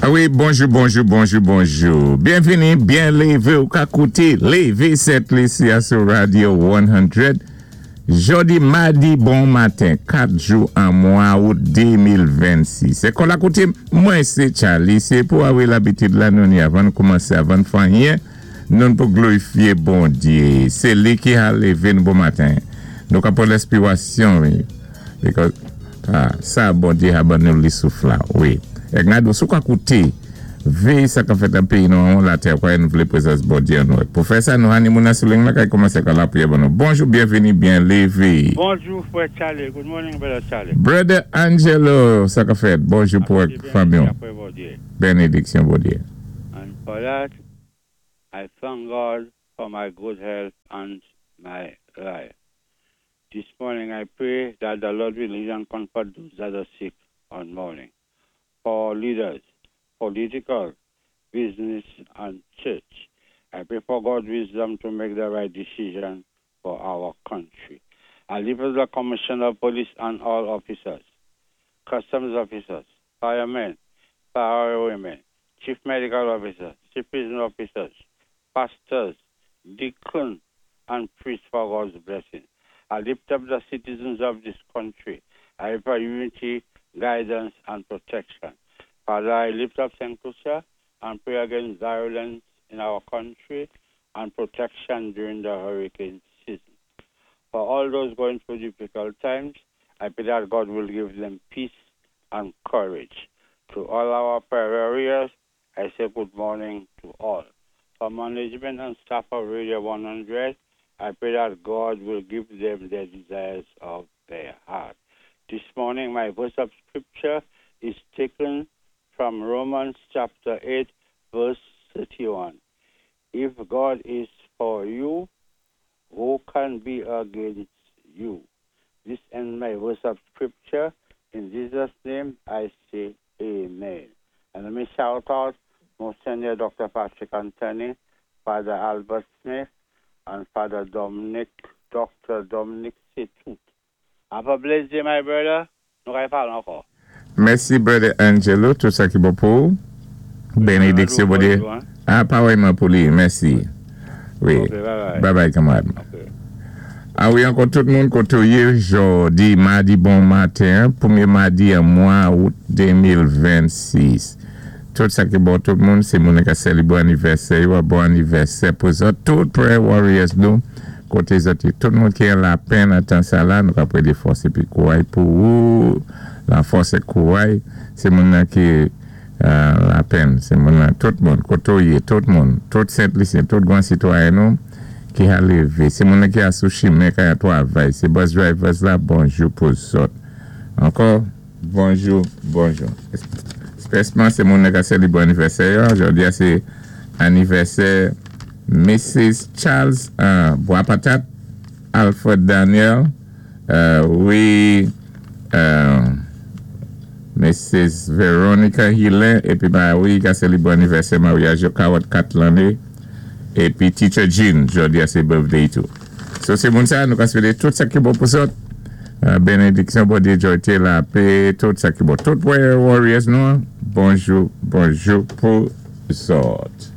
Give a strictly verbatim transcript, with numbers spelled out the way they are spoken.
Ah wi, bonjou, bonjou, bonjou, bonjou. Byenvini, byen lévé ou ka kouté Lévé Sent Lisi sou Radio san. Jòdi madi bon maten, kat jou an mwa out de mil vennsis. Sé kon la koutim, mwen sé Charlie, sé pou awi labitid la nou ni avan koumansé, avan fè anyen, nou pou glorifié Bondié. Sé li ki a lévé nou bon maten. Nou ka pran lenspirasyon, wi. Because, ah, sa Bondié a ban nou li souf la, wi. Èk nan sou ka kouté, véyé sa ka fèt an péyi nou an latè, kwa nou vlé prézans Bondié an nou. Pou fè sa, nou hani moun sou liy la kay koumansé ka lapriyè ban nou. Bonjou, byenvini, byen lévé. Bonjou, frè Charlie. Good morning, brother Charlie. Brother Angelo, sa ka fèt. Bonjou pou fanmi. Apwé Bondié. Bénédiksyon Bondié. And for that, I thank God for my good health and my life. This morning I pray that the Lord will heal and comfort those that are sick on morning. For leaders, political, business, and church, I pray for God's wisdom to make the right decision for our country. I lift up the Commissioner of Police and all officers, customs officers, firemen, firewomen, chief medical officers, chief prison officers, pastors, deacons, and priests for God's blessing. I lift up the citizens of this country. I pray for unity, guidance, and protection. Father, I lift up Saint Lucia and pray against violence in our country and protection during the hurricane season. For all those going through difficult times, I pray that God will give them peace and courage. To all our prayer warriors, I say good morning to all. For management and staff of Radio one hundred, I pray that God will give them the desires of their heart. This morning, my verse of scripture is taken from Romans chapter eight, verse thirty-one. If God is for you, who can be against you? This ends my verse of scripture. In Jesus' name, I say amen. And let me shout out Monsignor Doctor Patrick Anthony, Father Albert Smith, and Father Dominic, Doctor Dominic Setout. Have a blessed day, my brother. Nou kay pale ankò. Mèsi, Brother Angelo, tout sa ki bon pou. Bénédiksyon Bondié. Ah, parèyman pou li, mèsi. Wi. Ok, bye bye. Bye bye, kanmarad. Ok. Ah wi, ankò tout moun koté ou yé jòdi madi bon maten, pwémyé madi an mwa out de mil vennsis. Tout sa ki bon tout moun, sé moun ka sélébwé anivèsè, yo, bon anivèsè pou zòt, tout prayer warriors nou, koté zòt, tout moun ki an lapenn an tan sa la, nou ka pwédé fòs épi kouray pou ou, la fòs é kouray, sé moun nan ki euh, lapenn, sé moun nan, tout moun, koté ou yé, tout moun, tout Sent Lisyen, tout gwan sitwayen nou, ki a lévé, sé moun nan ki a sou chimen, ka a twavay, sé bus drivers la, bonjou pou zòt. Ankò, bonjou, bonjou. Espèsman, sé moun nan ka sélébwé anivèsè, jòdi a sé anivèsè Missus Charles euh, Bois-Patate, Alfred Daniel, euh, wi, euh, Missus Veronica Hillin, épi ba, wi, ka sélébwé anivèsè maryaj karannkat lanné, épi Teacher Jean, jòdi a sé birthday tou. So, sé moun sa, nou ka swété tout sa ki bon pou zòt. Euh, bénédiksyon, Bondié, jwa, lapè, tout sa ki bon. Tout prayer warriors nou, bonjou, bonjou pou zòt.